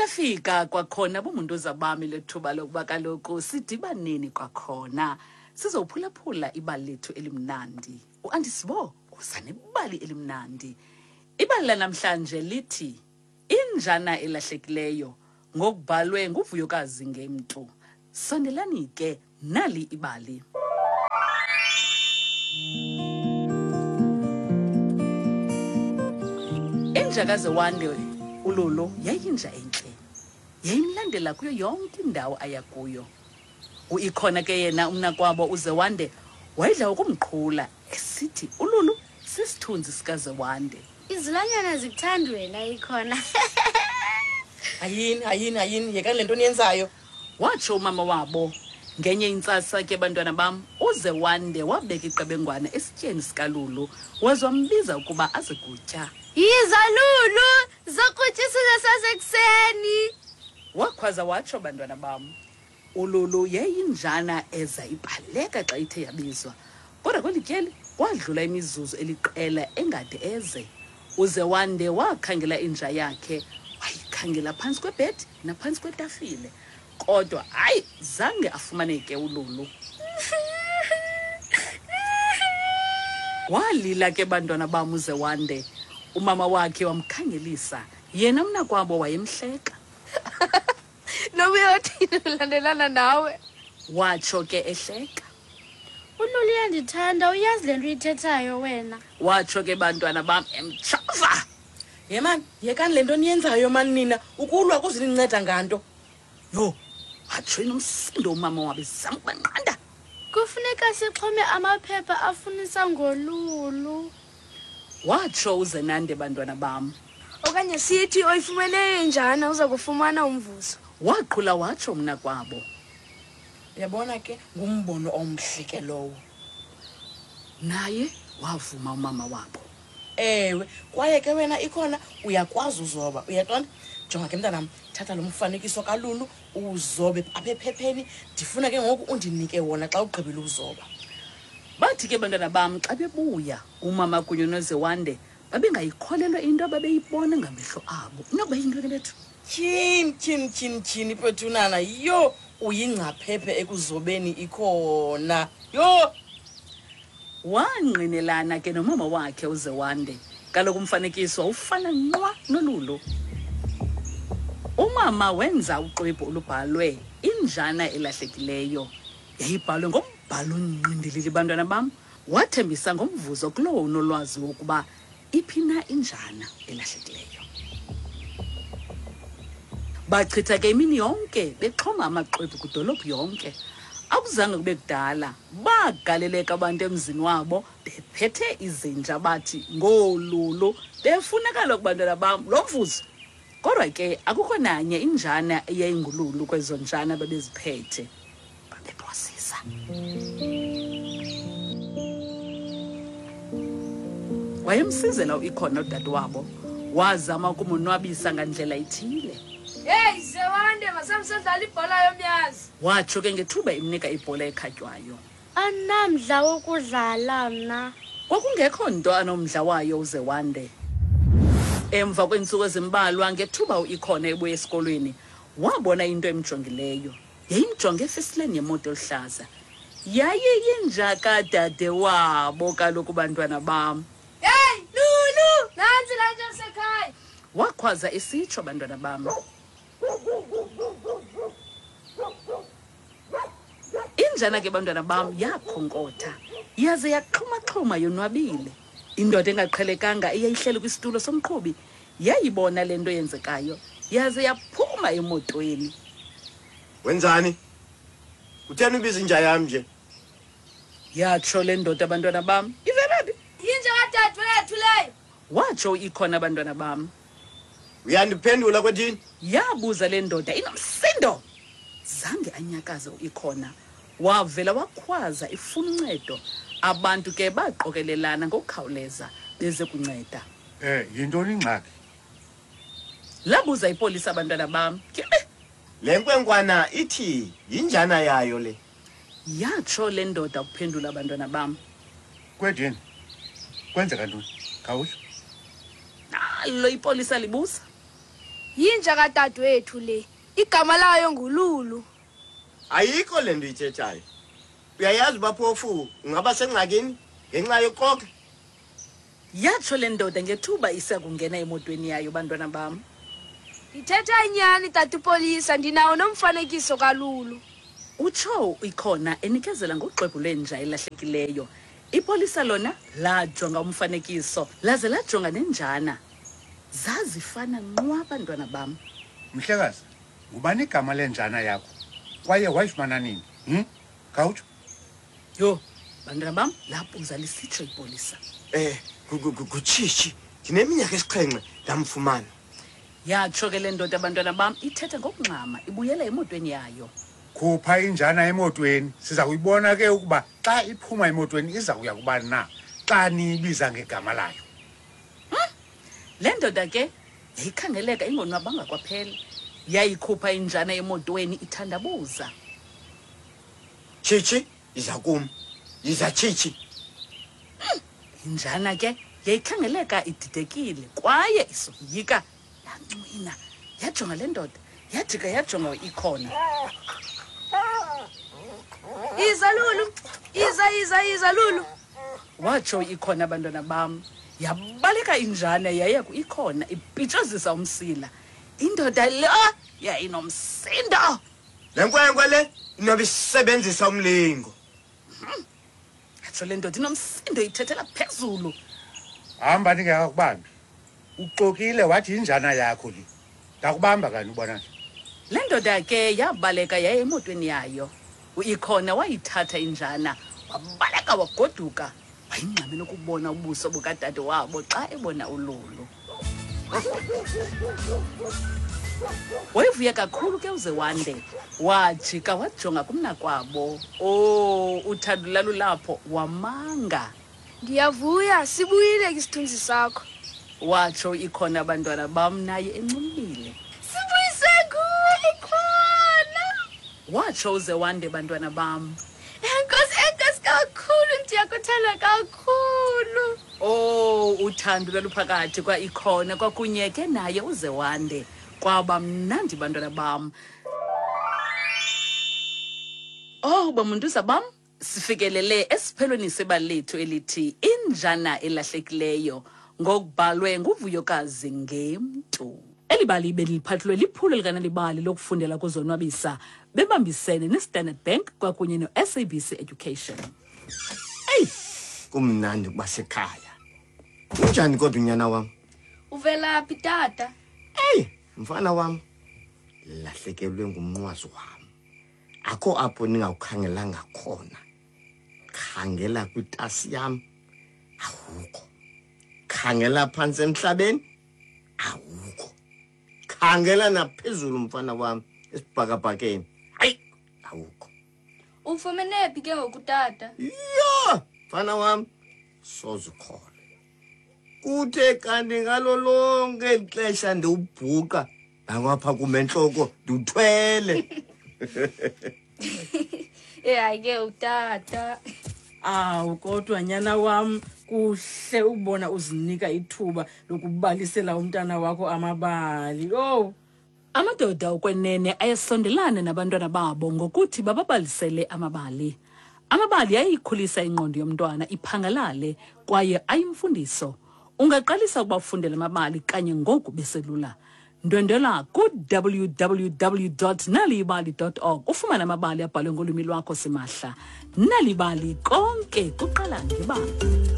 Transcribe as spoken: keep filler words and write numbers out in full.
Lafika kwakhona bumuntuza bami lethuba lokuba kaloku sidibaneni kwakhona sizophulaphula ibali lethu elimnandi. UAndisibo uza nebali elimnandi. Ibali lanamhlanje lithi Injana Elahlekileyo, ngokubhalwe nguVuyokazi Ngemntu. Sondelani ke, nali ibali. Inja kaZewande uLulu yayinja entle. Yayimlandela kuyo yonke indawo aya kuyo. Uikhona ke yena umnakwabo uZewande wayedla ukumqhula esithi uLulu sisithunzi sikaZewande. Izilwanyana zikuthanda wena ikhona. Hayini, hayini, hayini, yekani le nto niyenzayo. Watsho umama wabo. Ngenye intsasa ke bantwana bam, uZewande wabeka iqebengwana esityeni sikaLulu, waze wambiza ukuba aze kutya. Yiza Lulu, zokutya isidlo sasekuseni. Wakhwaza watsho bantwana bam. ULulu yayinjana eza ibaleka xa ithe yabizwa. Kodwa kweli tyeli kwadlula imizuzu eliqela engade eze. UZewande wakhangela inja yakhe, wayikhangela phantsi kwebhedi naphantsi kwetafile. Kodwa hayi, zange afumaneke uLulu. Walila ke bantwana bam uZewande. Umama wakhe wamkhangelisa, yena mnakwabo wayemhleka. Noba uyothini ulandelana nawe? Watsho ke ehleka. ULulu uyandithanda, uyazi le nto uyithethayo wena. Watsho ke bantwana bam emtshova. Ye mani, yekani le nto niyenzayo mani nina, ukulwa kuzininceda nganto. Yho, watsho enomsindo umama wabo ezama ukubanqanda. Kufuneka sixhome amaphepha afunisa ngoLulu. Watsho uZenande bantwana bam. Okanye sithi oyifumeneyo injana uza kufumana umvuzo. Waqhula watsho mnakwabo. Uyabona ke, ngumbono omhle ke lowo. Naye wavuma umama wabo. Ewe, kwaye ke wena ikhona uyakwazi uzoba, uyaqonda? Jonga ke mntanam, thatha lo mfanekiso kaLulu uzobe apha ephepheni, ndifuna ke ngoku undinike wona xa ugqibile uzoba. Bathi ke bantwana bam xa bebuya, umama kunye noZewande babengayikholelwa into ababeyibona ngamehlo abo. Inokuba yintoni bethu? Tyhini, tyhini, tyhini, tyhini, Petunana, yho, uyingcaphephe ekuzobeni ikhona. Yho! Wangqinelana ke nomama wakhe uZewande. Kaloku umfanekiso wawufana nqwa noLulu. Umama wenza uxwebhu olubhalwe Injana Elahlekileyo. Yayibhalwe ngombhalo onqindilili bantwana bam. Wathembisa ngomvuzo kulowo unolwazi wokuba iphi na injana elahlekileyo. Bachitha ke imini yonke bexhoma amaxwebhu kwidolophu yonke. Akuzange kube kudala, bagaleleka abantu emzini wabo bephethe izinja bathi ngoLulu, befuna kaloku bantwana bam lo mvuzo. Kodwa ke akukho nanye injana eyayingululu kwezo njana babeziphethe. Babephosisa. Wayemsizela uIkhona udadewabo, wazama ukumonwabisa ngandlela ithile. Hey Zewande, masamsedlala ibhola yomyazi. Watsho ke ngethuba imnika ibhola ekhatywayo. Andinamdla wokudlala mna. Kwakungekho nto anomdla wayo uZewande. Emva kweentsuku ezimbalwa ngethuba uIkhona ebuya esikolweni, wabona into emjongileyo. Yayimjonge efesileni yemoto eluhlaza. Yayiyinja kadade wabo kaloku bantwana bam. Hey Lulu, nantsi laa nja yasekhaya. Wakhwaza esitsho bantwana bam. Injana ke bantwana bam yakhonkotha, yaze yaxhumaxhuma yonwabile. Indoda engaqhelekanga eyayihleli kwisitulo somqhubi yayibona le nto yenzekayo, yaze yaphuma emotweni. Wenzani? Kutheni ubiza inja yam nje? Yatsho le ndoda bantwana bam. Ivela phi? Yinja kadadewethu leyo. Watsho ikhona bantwana bam. Uyandiphendula kwethini? Yabuza le ndoda inomsindo. Zange anyakaze uIkhona. Wavela wakhwaza ifuna uncedo. Abantu ke baqokelelana ngokukhawuleza beze kunceda. Eh, yintoni ingxaki? Labuza ipolisa abantwana bam. Ke Le nkwenkwana ithi yinjana yayo le. Yatsho le ndoda ukuphendula abantwana bam. Kwedini, kwenzeka ntoni? Khawutsho. Nalo ipolisa libuza. Yinja kadadewethu le. Igama layo nguLulu. Ayikho le nto uyithethayo. Uyayazi uba phofu ungaba sengxakini ngenxa yokuxoka. Yatsho le ndoda ngethuba isa kungena emotweni yayo, bantwana bam. Ndithetha inyani, tata upolisa, ndinawo nomfanekiso kaLulu. Utsho ikhona enikezela ngoxwebhu lwenja elahlekileyo. Ipolisa lona lajonga umfanekiso laze lajonga nenjana. Zazifana nqwa, bantwana bam. Mhlekazi, ngubani igama lenjana yakho? Kwaye wayifumana nini? Hm? Khawutsho. Yho, bantwana bam, labuza lisitsho ipolisa. Eh, nguTshitshi. Ndineminyaka esixhenxe ndamfumana. Yatsho ke le ndoda, bantwana bam, ithetha ngokungxama ibuyela emotweni yayo. Khupha injana emotweni. Siza kuyibona ke ukuba xa iphuma emotweni iza kuya kubani na xa niyibiza ngegama layo. Le ndoda ke yayikhangeleka ingonwabanga kwaphela. Yayikhupha injana emotweni ithandabuza. Tshitshi, yiza kum. Yiza, Tshitshi. Injana ke yayikhangeleka ididekile kwaye isoyika. Yancwina, yajonga le ndoda, yajika yajonga ikhona. Iza Lulu, iza iza iza Lulu. Watsho ikhona, bantwana bam. Yabaleka injana yaya ikhona ipitshozisa umsila. Indoda le yayinomsindo. Le nkwenkwe le inoba isebenzisa umlingo. Yatsho le ndoda inomsindo ithethela phezulu. Hamba ndingekakubambi. Uxokile wathi injana yakho le. Ndakubamba kani ubona nje. Le ndoda ke yabaleka yaya emotweni yayo. Uikhona wayithatha injana, wabaleka wagoduka. Wayingxamela ukubona ubuso bukadade wabo xa ebona uLulu. Wayevuya kakhulu ke uZewande. Wajika wajonga kumnakwabo. Oh, uthando lalulapho wamanga. Ndiyavuya, sibuyile isithunzi sakho. Watsho ikhona, abantwana bam, naye encumile. Sibuyise nguwe ikhona. Watsho uZewande, bantwana bam. Enkosi, enkosi kakhulu, ndiyakuthanda kakhulu. Oh, uthando lwaluphakathi kwa ikhona kwakunye ke naye uZewande. Kwaba mnandi, bantwana bam. Oh, bamuntuza bam, sifikelele esiphelweni sebali lethu elithi Injana Elahlekileyo, ngokubhalwe nguVuyokazi Ngemntu. Eli bali beliphathulwe liphulo likaNalibali lokufundela kuzonwabisa bebambisene neStandard Bank kwakunye no-S A B C Education. Eyi, kumnandi ukuba sekhaya. Unjani kodwa unyana wam? Uvelaphi tata? Eyi, mfana wam, lahlekelwe ngumnqwazi wam. Akho apho ningawukhangelanga khona. Khangela kwitasi yam, awukho. Khangela phantsi emhlabeni, awukho. Khangela naphezulu mfana wam esibhakabhakeni, hayi, awukho. Ufumene phi ke ngoku tata? Yho, mfana wam, soze ukholwe. Kuthe kanti ngalo lonke eli xesha ndiwubhuqa nangapha kum entloko ndiwuthwele. Eh, hayi ke utata. Awu kodwa nyana wam, kuhle ukubona uzinika ithuba lokubalisela umntana wakho amabali. Oh, amadoda okwenene ayasondelana nabantwana babo ngokuthi bababalisele amabali. Amabali ayikhulisa ingqondo yomntwana iphangalale kwaye ayimfundiso. Ungaqalisa ukubafundela amabali kanye ngoku beselula. Ndwendwela ku w w w dot nalibali dot org ufumane amabali abhalwe ngolwimi lwakho simahla. Nalibali, konke kuqala ngebali.